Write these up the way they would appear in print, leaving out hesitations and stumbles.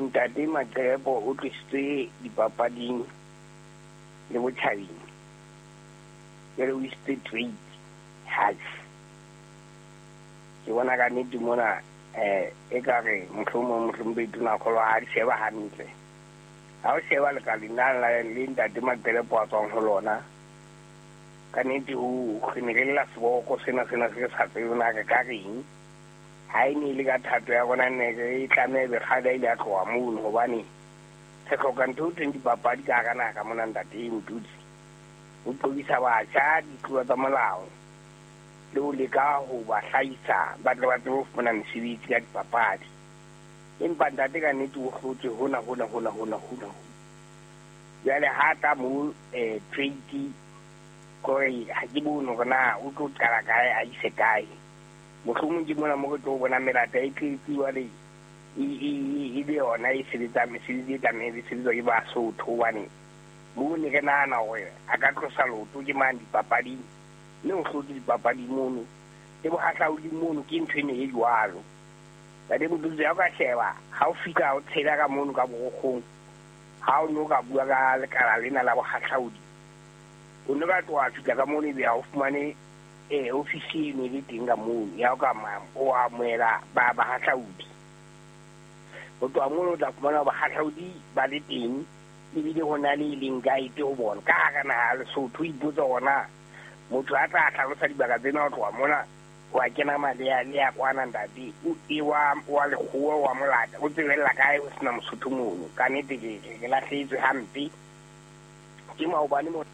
Ntate Maqelepo o tlositswe dipapading le botjhabeng. Jwale o isitswe trade hatjhe. Ke bona ka nnete mona ekare mohlomong mohlomphehi Tonakgolo ha di sheba hantle. Ha o sheba lekaleng la le ntate Maqelepo a tswang ho lona, ka nnete ho re ne re lla seboko sena sena se re sa tsebe na re ka reng. Ha e ne e le ka thato ya rona ne re tlameha ebe kgale a ile a tloha mono, hobane re hloka ntho eo thweng dipapadi ka hara naha ka mona ntate Motutsi. Ho qobisa batjha ditlolo tsa molao le ho leka ho ba hlahisa ba tle ba tsebe ho fumana mesebetsi ka dipapadi. Empa ntate ka nnete o hlotswe hona hona hona hona hona. Jwale ha tla mo trade kore ha ke bone hore na o tlo qala kae a ise kae. Mohlomong ke mona mo re tlo bona melata e tletse jwale e be yona e sebetsang mesebetsi e tlamehang e sebetswa ke Basotho, hobane mo ne re nahana hore a ka tlosa leoto ke mane dipapading, mme o hlotse dipapading mono le bohahlaudi mono ke ntho ene e jwalo. Ntate Motutsi, ha o ka sheba ha o fihla o tshela ka mono ka borokgong, ha o no ka bua ka lekala lena la bohahlaudi, o ne ka tloha fihla ka mono ebe ha o fumane ofisi e ne le teng ka mono ya o ka o amohela ba bahahlaudi. Ho tloha mono o tla fumana bahahlaudi ba le teng, ebile ho na le e leng guide ho bona ka hara naha ya Lesotho. O ipotsa hore na motho a tla hlalosa dibaka tsena ho tloha mona ho a kena malea le ya kwana ntate e wa lekgowa wa molata o tsebella kae ho sena Mosotho mono. Ka nnete ke lahlehetswe hampe ke maobane mo.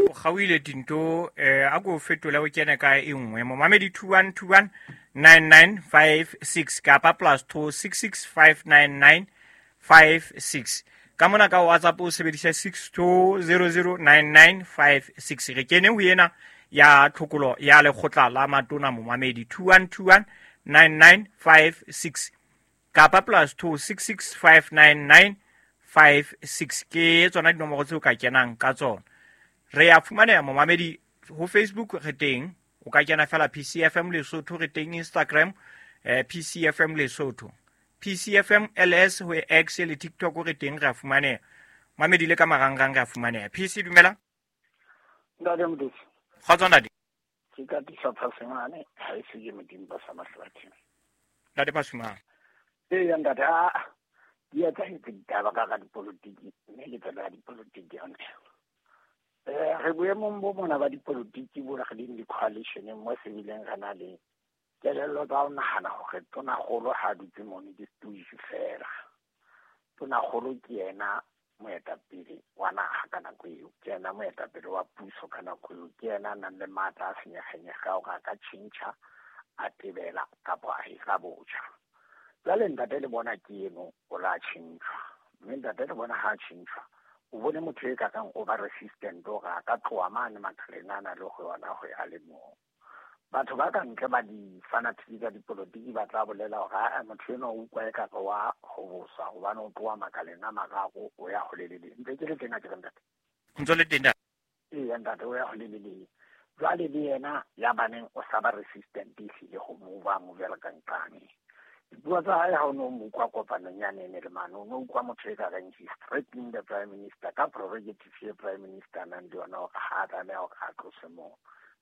O kgaohile tinto, a ko fetola o kene ka e nngwe. Momamedi 2121 9956 kapa +266 59956. Ka mona ka WhatsApp o sebedisa 62009956. Re kene ho ena ya tlhokolo ya lekgotla la matona momamedi 2121 9956 kapa +266 59956. Ke tsona dinomoro tseo ka kenang ka tsona. Re ya fumaneha momamedi ho Facebook re teng, o ka kena fela PCFM Lesotho, re teng Instagram, PCFM Lesotho, PCFM LS ho X le TikTok re teng, re a fumaneha. Mamedi le ka marangrang re a fumaneha. PC dumela. Ntate Motutsi. Kgotso ntate. Ke ka tisa Phasimane, ha e se ke Modimo ba sa mahlathi. Ntate Phasimane. Ee ntate, a di etsahetse ditaba ka ga dipolotiki, mme ke tsela ya dipolotiki yone. Re boemong bo mona ba dipolotiki bo re leng di-coalitioneng mo se bileng re na le kelello tsa ho nahana hore tonakgolo ha dutse mono ke setuju fela. Tonakgolo ke yena moetapele wa naha ka nako eo, ke yena moetapele wa puso ka nako eo, ke yena a nang le matla a senyegenyege a hore a ka tjhentjha, a tebela kapa a hira botjha. Jwale ntate le bona ke eno o la tjhentjhwa, mme ntate le bona ha tjhentjhwa o bone motho e ka kang o ba resistant hore a ka tloha mane makaleng ana le ho yona ho ya le moo. Batho ba ka ntle ba di-fanatic tsa dipolotiki ba tla bolela hore a motho enwa o utlwa ekare wa hoboswa hobane o tloha makaleng a mararo o ya ho le le leng. Ntse ke le teng a ke re ntate? Ntse le teng ntate? Eya ntate, o ya ho le le leng. Jwale le yena ya baneng o sa ba resistant ehlile ho mova movela ka nqane. Dipuo tsa hae ha o no mo utlwa kopanong ya nene le mane, o no utlwa motho e ka reng he's threatening the prime minister ka prerogative e prime minister nang le yona hore ha a tlameha hore a tlose moo.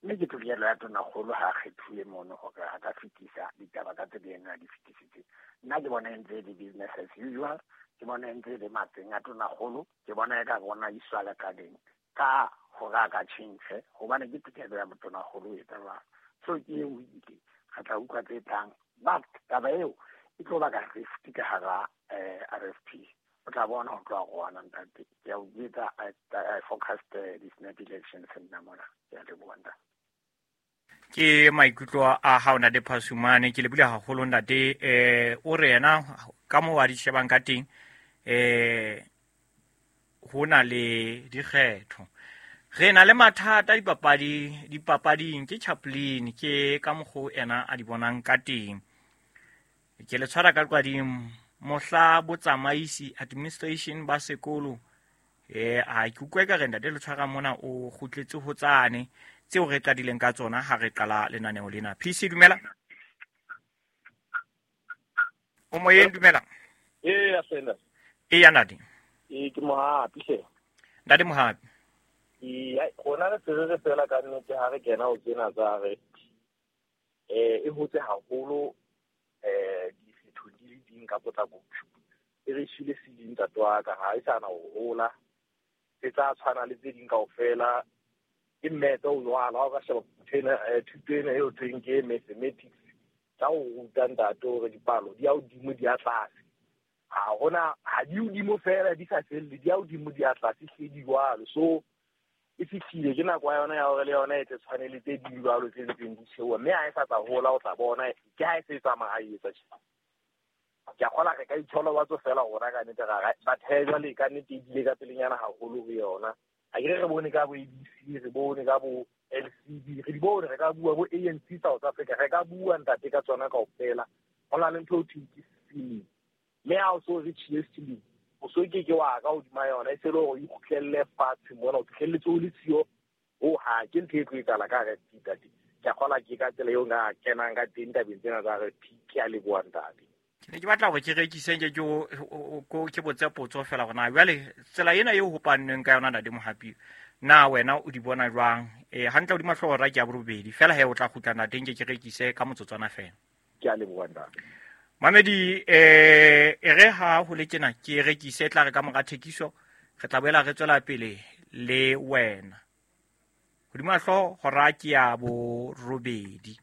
Mme ke tokelo ya tonakgolo ha a kgethuwe mono hore a ka fetisa ditaba ka tsela eno a di fetisitseng. Nna ke bona e ntse e le business as usual, ke bona e ntse e le matseng a tonakgolo, ke bona e ka bona iswa lekaleng ka hore a ka tjhentjhe hobane ke tokelo ya motonakgolo ho etsa jwalo. So ke eo ile re tla utlwa tse tlang, but taba eo e tlo baka rift ka hara RFP. O tla bona ho tloha go ona ntate. Ke a o jwetsa, I forecast the snap elections nna mona. Ke a leboha ntate. Ke maikutlo a hao ntate Phasumane, ke lebile haholo ntate. O re yena ka moo a di shebang ka teng, ho na le dikgetho. Re na le mathata dipapading ke Chaplin, ke ka mokgo ena a di bonang ka teng. Ke le tshwara ka qading mohla botsamaisi administration ba sekolo. A ke utlwe ka re ntate le tshwara mona o kgutletse ho tsane tseo re qadileng ka tsona ha re qala lenaneo lena. PC dumela. O moyeng, dumela. Eya, Sanders. Eya, ntate. Ee, ke Mohapi hle. Ntate Mohapi. Ee, rona re se re fela ka nnete ha re kena ho tsena tsa RFP. E hotse haholo dikgethong di le ding ka potlako. E re shile ceiling ntate wa ka, ha e sa na ho hola. E tla tshwana le tse ding kaofela. Ke mmetse o jwalo, ha o ka sheba thuto ena eo thweng ke mathematics. Tsa ho ruta ntate hore dipalo di ya hodimo di ya tlase. Ha hona ha di hodimo fela di sa felle, di ya hodimo di ya tlase hle di jwalo. So e fihlile ke nako ya yona ya hore le yona e tle tshwane le tse ding jwalo tse ntseng di theoha. Mme ha e sa tla hola o tla bona ke ha e se e tsamaya e etsa tjena. Ke a kgolwa re ka itsholobatso fela rona ka nnete ra but he jwale ka nnete e bile ka pelenyana haholo ho yona. Ha ke re bone ka bo ABC, re bone ka bo LCB, re di bone, re ka bua bo ANC South Africa, re ka bua ntate ka tsona kaofela. Ho na le ntho eo thweng ke ceiling. Mme ha o so re tjhile ceiling, o so ke ke wa ka hodima yona, e se le hore o ikgutlelle fatshe mona, o fihlelletse o le siyo ho ha ke ntho e tlo etsahala ka RFP ntate. Ke a kgolwa ke ka tsela eo nka kenang ka teng tabeng tsena tsa RFP. Ke a leboha ntate. Ke ne ke batla hore ke rekise nke ke botse potso fela hore na jwale tsela ena eo ho pannweng ka yona ntate Mohapi, na wena o di bona jwang? Hantle hodima hlooho hora ke ya borobedi fela he o tla kgutla ntate nke ke rekise ka motsotswana fela. Ke a leboha ntate. Mamedi, e re ha ho le tjena ke rekise, tla re ka mora thekiso re tla boela re tswela pele le wena. Hodima hlooho hora ke ya borobedi.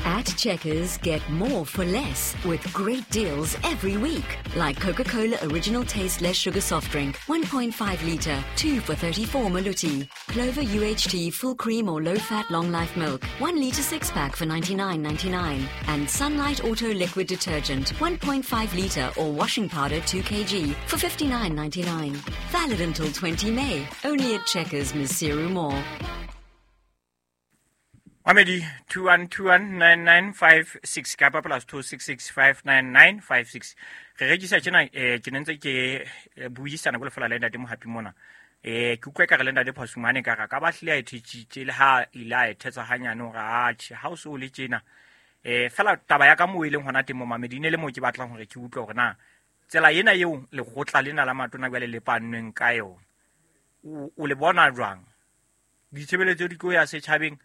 At Checkers, get more for less with great deals every week. Like Coca-Cola Original Taste Less Sugar Soft Drink, 1.5 litre, 2 for 34 Maluti. Clover UHT Full Cream or Low Fat Long Life Milk, 1 litre 6-pack for 99.99. And Sunlight Auto Liquid Detergent, 1.5 litre or washing powder 2 kg for 59.99. Valid until 20 May. Only at Checkers, Maseru Mall. Mamedi, 21219956 kapa plus 26659956. Re rekisa tjena, ke ne ntse ke buisana ko lefela le ntate Mohapi mona. Ke utlwa ekare le ntate Phasumane ka ra ka ba hlile a e thetsitse le ha ile a e thetsa hanyane hore atjhe ha o so le tjena. Fela taba ya ka moo e leng hona teng mo Mamedi ne le moo ke batlang hore ke utlwe hore na tsela ena eo lekgotla lena la matona jwale le pannweng ka yona. O le bona jwang? Ditshebeletso di tlo ya setjhabeng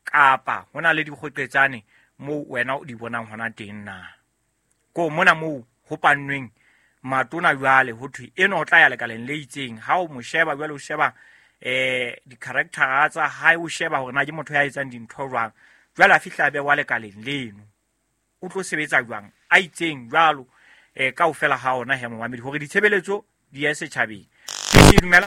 kapa hona le dikgoqetsane moo wena o di bonang hona teng na? Ko mona moo ho pannweng matona jwale ho thwe eno o tla ya lekaleng le itseng. Ha o mo sheba jwale o sheba di-character tsa hae, o sheba hore na ke motho ya etsang dintho jwang. Jwale a fihla a bewa lekaleng leno, o tlo sebetsa jwang a itseng jwalo kaofela ha ona he momamedi hore ditshebeletso di ye setjhabeng. Ke dumela.